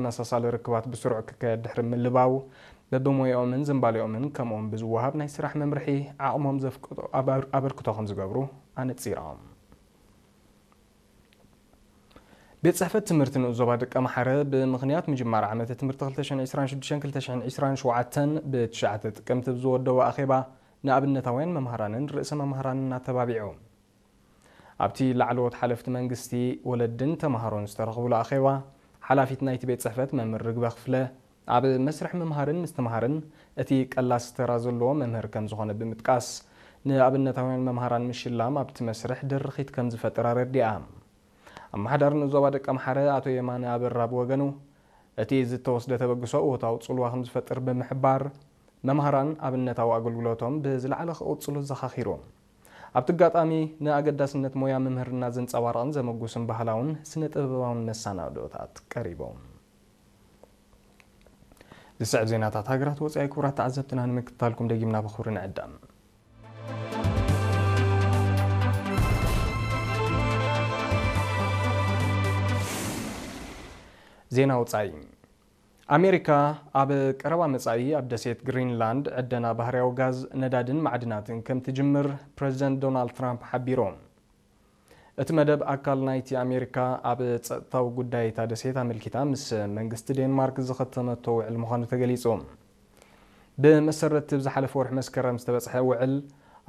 ተመሳሳሊ ርክባት ብስሩዕ ክካየድ ድሕሪ ምልባው፣ በብሞያኦምን ዝንባሌኦምን ከምኡውን ብዝወሃብ ናይ ስራሕ መምርሒ ዓቕሞም ዘፍቅዶ ኣበር-፣ ኣበርክቶ ከም ዝገብሩ ኣነጺሮም። ቤት ጽሕፈት ትምህርቲ ንኡስ ዞባ ደቀምሓረ ብምኽንያት ምጅማር ዓመተ ትምህርቲ ክልተ ሽሕን ዕስራን ሽዱሽተን ክልተ ሽሕን ዕስራን ሸውዓተን ብትሽዓተ ጥቅምቲ ብዝወደቦ ኣኼባ ንኣብነታውያን መምሃራንን ርእሰ መምሃራንን ኣተባቢዑ። ኣብቲ ላዕለዎት ሓለፍቲ መንግስቲ፣ ወለድን ተምሃሮን ዝተረኽብሉ ኣኼባ፣ ሓላፊት ናይቲ ቤት ጽሕፈት መምህር ርግበ ክፍለ፣ ኣብ መስርሕ ምምሃርን ምስትምሃርን እቲ ቀላሲ ተራ ዘለዎ መምህር ከም ዝኾነ ብምጥቃስ፣ ንኣብነታውያን መምሃራን ምሽላም ኣብቲ መስርሕ ድርኺት ከም ዝፈጥር ኣረዲኣ። ኣመሓዳሪ ንኡስ ዞባ ደቀምሓረ ኣቶ የማነ ኣበራ ብወገኑ፣ እቲ ዝተወስደ ተበግሶ እወታዊ ጽልዋ ከም ዝፈጥር ብምሕባር፣ መምሃራን ኣብነታዊ ኣገልግሎቶም ብዝለዓለ ክቕጽሉ ዘኻኺሩ። ኣብቲ ኣጋጣሚ፣ ንኣገዳስነት ሞያ ምምህርና ዘንጸባርቕን ዘመጉስን ባህላውን ስነ ጥበባውን መሰናድኦታት ቀሪቦም። ዝስዕብ ዜናታት ሃገራት ወጻኢ ክቡራት ተዓዘብትና ንምክትታልኩም ደጊምና ብኽብሪ ንዕደም። ዜና ወጻኢ። ኣሜሪካ ኣብ ቀረባ መጻኢ ኣብ ደሴት ግሪንላንድ ዕደና ባህርያዊ ጋዝ፣ ነዳድን ማዕድናትን ከም ትጅምር ፕረዚደንት ዶናልድ ትራምፕ ሓቢሩ። እቲ መደብ ኣካል ናይቲ ኣሜሪካ ኣብ ጸጥታዊ ጉዳይ እታ ደሴት ኣመልኪታ ምስ መንግስቲ ዴንማርክ ዝኸተመቶ ውዕል ምዃኑ ተገሊጹ። ብመሰረት እቲ ዝሓለፈ ወርሒ መስከረም ዝተበጽሐ ውዕል፣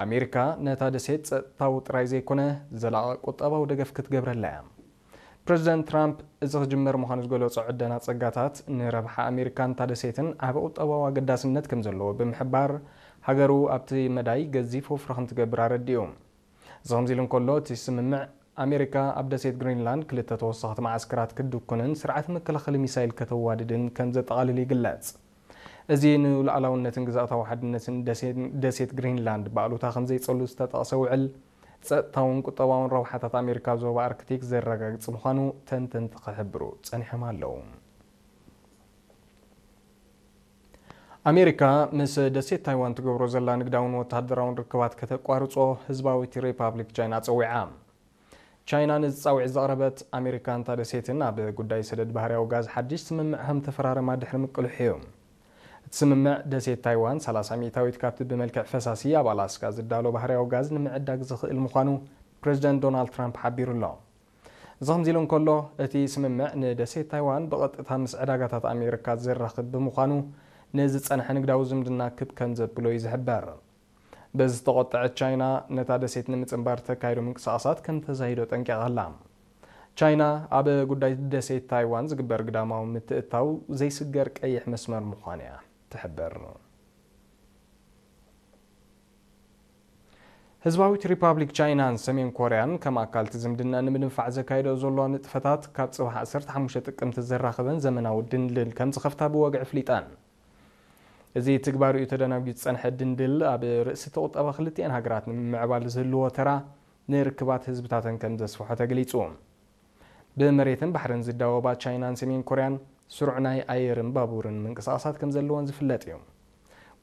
ኣሜሪካ ነታ ደሴት ጸጥታዊ ጥራይ ዘይኮነ፣ ዘላቒ ቁጠባዊ ደገፍ ክትገብረላ እያ። ፕረዚደንት ትራምፕ፣ እዚ ክጅመር ምዃኑ ዝገለጾ ዕደና ጸጋታት፣ ንረብሓ ኣሜሪካን እታ ደሴትን ዓቢ ቁጠባዊ ኣገዳስነት ከም ዘለዎ ብምሕባር፣ ሃገሩ ኣብቲ መዳይ ገዚፍ ወፍሪ ከም ትገብር ኣረዲኡ። እዚ ከምዚ ኢሉ እንከሎ፣ እቲ ስምምዕ፣ ኣሜሪካ ኣብ ደሴት ግሪንላንድ ክልተ ተወሰኽቲ መዓስከራት ክትድኩንን ስርዓት መከላኸሊ ሚሳይል ከተዋድድን ከም ዘጠቓልል ይግለጽ። እዚ ንሉዓላውነትን ግዝኣታዊ ሓድነትን ደሴ-፣ ደሴት ግሪንላንድ ብኣሉታ ከም ዘይጸሉ ዝተጠቕሰ ውዕል፣ ጸጥታውን ቁጠባውን ረብሓታት ኣሜሪካ ኣብ ዞባ ኣርክቲክ ዘረጋግጽ ምዃኑ ተንተንቲ ክሕብሩ ጸኒሖም ኣለዉ። ኣሜሪካ ምስ ደሴት ታይዋን ትገብሮ ዘላ ንግዳውን ወተሃደራውን ርክባት ከተቋርጾ ህዝባዊት ሪፓብሊክ ቻይና ጸዊዓ። ቻይና ነዚ ጻውዒት ዘቕረበት፣ ኣሜሪካ እንታ ደሴትን ኣብ ጉዳይ ሰደድ ባህርያዊ ጋዝ ሓድሽ ስምምዕ ከም ተፈራረማ ድሕሪ ምቅልሑ እዩ። እቲ ስምምዕ፣ ደሴት ታይዋን ሰላሳ ሚእታዊት ካብቲ ብመልክዕ ፈሳሲ ኣብ ኣላስካ ዝዳሎ ባህርያዊ ጋዝ ንምዕዳግ ዝኽእል ምዃኑ ፕረዚደንት ዶናልድ ትራምፕ ሓቢሩ ኣሎ። እዚ ከምዚ ኢሉ እንከሎ፣ እቲ ስምምዕ ንደሴት ታይዋን ብቐጥታ ምስ ዕዳጋታት ኣሜሪካ ዘራኽብ ብምዃኑ፣ ንዝጸንሐ ንግዳዊ ዝምድና ክብ ከም ዘብሎ እዩ ዝሕበር። በዚ ዝተቖጠዐት ቻይና፣ ነታ ደሴት ንምጽንባር ተካይዶ ምንቅስቓሳት ከም ተዛይዶ ጠንቂቓ ኣላ። ቻይና፣ ኣብ ጉዳይ ደሴት ታይዋን ዝግበር ግዳማዊ ምትእትታው ዘይስገር ቀይሕ መስመር ምዃኑ እያ ትሕብር። ህዝባዊት ሪፓብሊክ ቻይናን ሰሜን ኮርያን ከም ኣካል እቲ ዝምድና ንምድንፋዕ ዘካይዶ ዘሎ ንጥፈታት፣ ካብ ጽባሕ ዓሰርተ ሓሙሽተ ጥቅምቲ ዘራኽበን ዘመናዊ ድልድል ከም ዝኸፍታ ብወግዒ ኣፍሊጠን። እዚ ትግባሪኡ ተደናጒዩ ዝጸንሐ ድንድል፣ ኣብ ርእሲ እቲ ቁጠባ ክልቲኤን ሃገራት ንምምዕባል ዝህልዎ ተራ፣ ንርክባት ህዝብታተን ከም ዘስፍሖ ተገሊጹ። ብመሬትን ባሕርን ዝዳወባ ቻይናን ሰሜን ኮርያን፣ ስሩዕ ናይ ኣየርን ባቡርን ምንቅስቓሳት ከም ዘለወን ዝፍለጥ እዩ።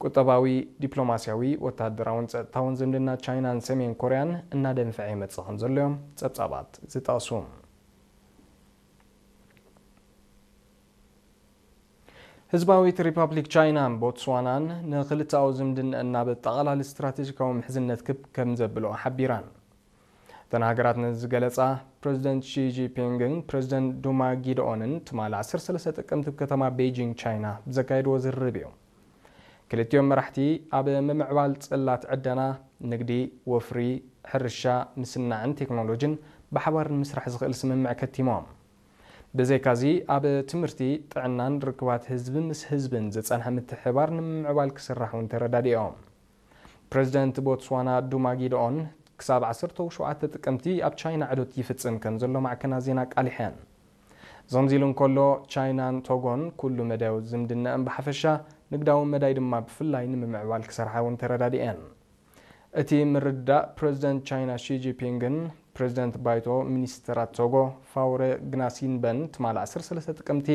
ቁጠባዊ፣ ዲፕሎማስያዊ፣ ወተሃደራውን ጸጥታውን ዝምድና ቻይናን ሰሜን ኮርያን እናደንፍዐ ይመጽእ ከም ዘሎ እዮም ጸብጻባት ዝጠቕሱ። ህዝባዊት ሪፓብሊክ ቻይናን ቦትስዋናን ንክልተኣዊ ዝምድንአን ናብ ኣጠቓላሊ ስትራቴጂካዊ ምሕዝነት ክብ ከም ዘብልኦ ሓቢራን። እተን ሃገራት ነዚ ዝገለጻ፣ ፕረዚደንት ሺ ጂንፒንግን ፕረዚደንት ዱማ ጊድኦንን ትማሊ ዓሰርተ ሰለስተ ጥቅምቲ ኣብ ከተማ ቤጂንግ ቻይና ብዘካየድዎ ዝርርብ እዩ። ክልቲኦም መራሕቲ ኣብ ምምዕባል ጽላት ዕደና፣ ንግዲ፣ ወፍሪ፣ ሕርሻ፣ ምስናዕን ቴክኖሎጂን ብሓባር ንምስራሕ ዝኽእል ስምምዕ ከቲሞም። ብዘይካዚ፣ ኣብ ትምህርቲ፣ ጥዕናን ርክባት ህዝቢ ምስ ህዝብን ዝጸንሐ ምትሕብባር ንምምዕባል ክስራሕ እውን ተረዳዲኦም። ፕረዚደንት ቦትስዋና ዱማ ጊድኦን ክሳብ ዓሰርተ ሸውዓተ ጥቅምቲ ኣብ ቻይና ዕዶት ይፍጽም ከም ዘሎ ማዕከናት ዜና ኣቃሊሐን። እዚ ከምዚ ኢሉ እንከሎ፣ ቻይናን ቶጎን ኩሉ መዳያዊ ዝምድናኣን ብሓፈሻ፣ ንግዳዊ መዳይ ድማ ብፍላይ ንምምዕባል ክሰርሓ እውን ተረዳዲኤን። እቲ ምርድዳእ ፕረዚደንት ቻይና ሺ ጂንፒንግን ፕረዚደንት ባይቶ ሚኒስተራት ቶጎ ፋውረ ግናሲንበን ትማሊ ዓሰርተ ሰለስተ ጥቅምቲ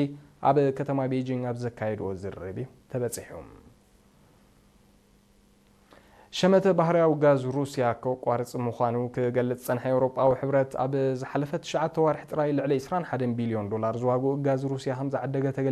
ኣብ ከተማ ቤጂንግ ኣብ ዘካየድዎ ዝርርብ እዩ ተበጺሑ። ሸመተ ባህርያዊ ጋዝ ሩስያ ከቋርጽ ምዃኑ ክገልጽ ዝጸንሐ ኤውሮጳዊ ሕብረት፣ ኣብ ዝሓለፈ ትሽዓተ ዋርሒ ጥራይ ልዕሊ ዕስራን ሓደን ቢልዮን ዶላር ዝዋግኡ ጋዝ ሩስያ ከም ዝዓደገ ተገሊጹ።